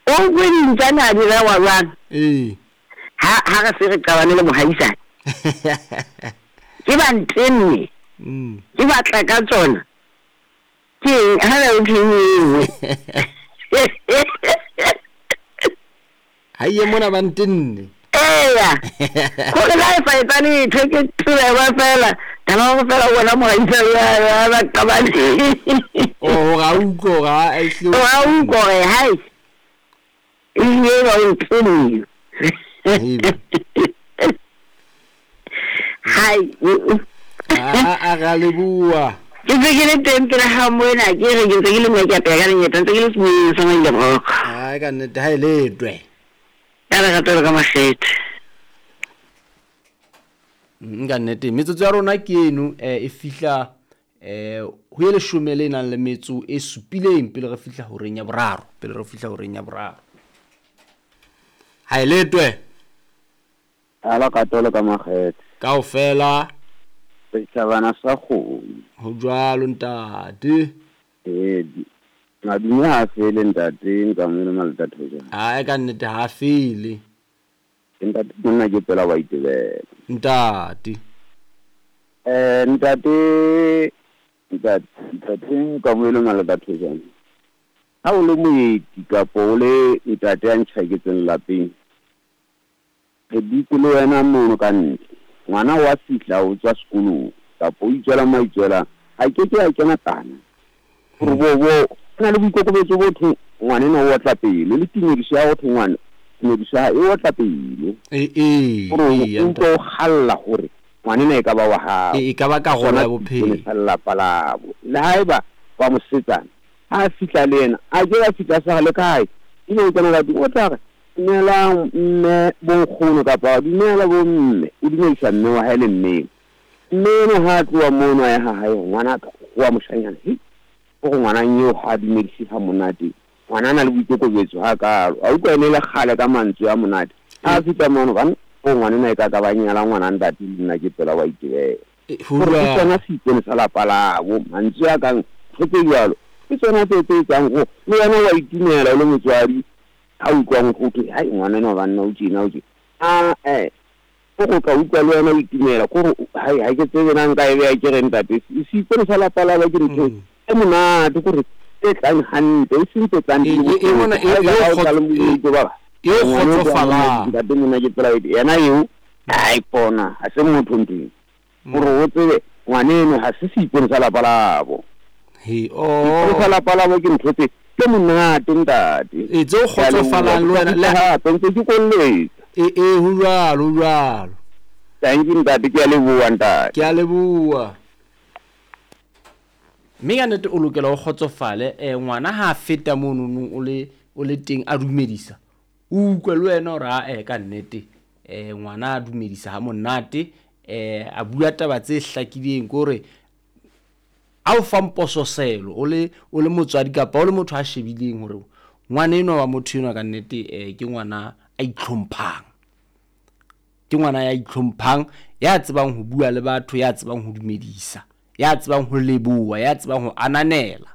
O kwe dintsane a di rewa jwang? Ee. Ha ha re se re qabane le mohaisane. Ke ba ntenne. Ke batla ka tsona. Ke eng ha re thwe e nngwe. Ha ye mona ba ntenne. Eya. Gore la e sa etsa letho ke tseba fela. Taba go fela bona mohaisane ya ba qabane. O gore a utlwe gore a ehlile. O a utlwe gore hai. Ebile ba o ntenne. Hai. A ra leboha. Ke ntse ke le teng pele ga moena ke re ke ntse ke le moya ke apeya ka lenyeta ntse ke le semoyeng sa maile boroko. Ai ka nnete ha e letwe. Ka lerato le ka makgethe. Ka nnete metsotso ya rona ke eno e fihla ho ye leshome le nang le metso e supileng pele re fihla horeng ya boraro, pele re fihla horeng ya boraro. Ha e letwe. Ala ka tolo ka makgethe. Kaofela. Setjhabana sa kgomo. Ho jwalo ntate. Ee, madume ha fele ntate, nkamele malata thojana. Ai ka nnete ha fele. Ntate monna ke pela wa itebela. Ntate. Ntate ntate ntate nkamele malata thojana. Ha o le moeti kapa o le ntate a ntjhaketseng lapeng. Re dutse le wena mono ka ntle. Ngwana wa fihla o tswa sekolong kapa o itswela mo a itswelang, a ke ke a kena kana. Gore bo bo o na le boikokobetso bo thwe ngwana o otla pelo le tumediso ya go thwe ngwana tumediso ya e otla pelo. Gore o utlwe o galla gore ngwanena e ka ba wa hao. E ka ba karolo ya bophelo. Sa lelapa labo. Le haeba wa mosetsana ha a fihla le yena a ke a fihla sa le kae ebe o kena ka tlung o tla re dumelang mme bonkgono kapa dumela bomme, o dumedisa mme wa hae le mmeng. Mme eno ha a tloha mono a ya ha hae ngwanaka wa moshanyana, hei o re ngwanang eo ha a dumedise ha monate, ngwana a na le boikokobetso ha kalo. A utlwa ene le kgale ka mantswe a monate. Ha a fihla mono bana o ngwanena e ka ka ba nyala ngwana ntate le nna ke pela wa itebela. Gore ke tsona seipone sa lapa labo, mantswe a kang ntho tse jwalo ke tsona tse tse etsang go le wena wa itumela o le motswadi. Ha utlwang go thwe hai ngwana enwa banna o tjena o tjena, a o go tla utlwa le wena o itumela kore hai ha ke tsebe na nka e beya ke re ntate seipone sa lapa labo ke ntho e monate kore e tlang hantle e seng tse tlang di le e kgotsofalang. Ntate mona ke tsela yena eo ai pona ha se motho ntho gore o tsebe ngwaneno ha se seipone sa lapa labo. He oh sa lapa labo ke ntho tse ke monate ntate. E tse o kgotsofalang le wena le hape ntse ke kolletsa. E ho jwalo, ho jwalo. Thank you ntate, ke a leboha ntate. Ke a leboha. Mme ka nnete o lokela o kgotsofale ngwana ha feta mono o le teng a dumedisa. O utlwe le wena hore a ka nnete ngwana a dumedisa ha monate a bua taba tse hlakileng kore a o fa mpososelo o le motswadi kapa o le motho a shebileng hore ngwana enwa wa motho enwa ka nnete ke ngwana a itlhomphang. Ke ngwana ya itlhomphang, ya tsebang ho bua le batho, ya tsebang ho dumedisa, ya tsebang ho leboha, ya tsebang ho ananela.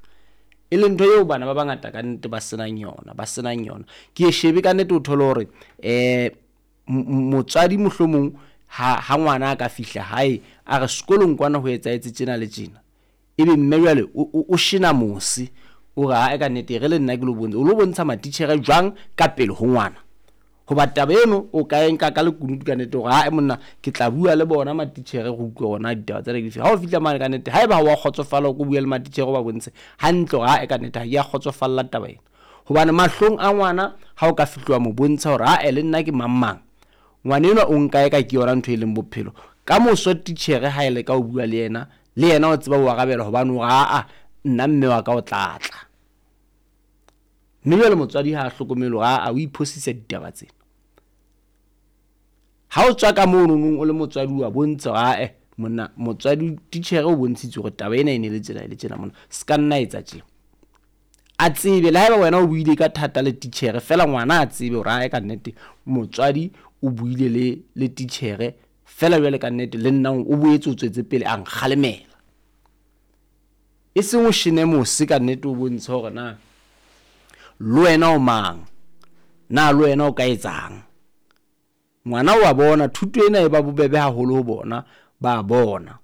E leng ntho eo bana ba bangata ka nnete ba senang yona, ba senang yona. Ke e shebe ka nnete o thole hore motswadi mohlomong ha ngwana a ka fihla hae a re sekolong kwana ho etsahetse tjena le tjena. Ebe mme jwale o shena mose o re ha ka nnete re le nna ke lo bontsha, o lo bontsha matitjhere jwang ka pele ho ngwana. Hoba taba eno o ka e nka ka lekunutu ka nnete hore ha monna ke tla bua le bona matitjhere go utlwe hore ditaba tsena ke dife. Ha o fihla mane ka nnete haeba ha wa kgotsofala o bua le matitjhere o ba bontshe hantle hore ha ka nnete ha ke a kgotsofalla taba ena. Hobane mahlong a ngwana ha o ka fihla mo bontsha hore ha le nna ke mang mang, ngwana enwa o nka e ka ke yona ntho e leng bophelo. Ka moso titjhere ha e le ka o bua le yena, le yena o tseba ho arabela hobane o re aa nna mme wa ka o tlatla. Mme jwale motswadi ha a hlokomele hore aa o iphosisa ditaba tsena. Ha o tswa ka mono nong o le motswadi wa bontsha hore ae monna motswadi titjhere o bontshitse hore taba ena e ne le tsena le tjena monna se ka nna etsa tjena. A tsebe le haeba wena o buile ka thata le titjhere fela ngwana a tsebe hore ae ka nnete motswadi o buile le titjhere fela jwale ka nnete le nna o boetse o tswetse pele a nkgalemela. E seng o shene mose ka nnete o bontshe hore na le wena o mang. Na le wena o ka etsang? Ngwana wa bona, thuto ena e ba bobebe haholo ho bona, ba bona.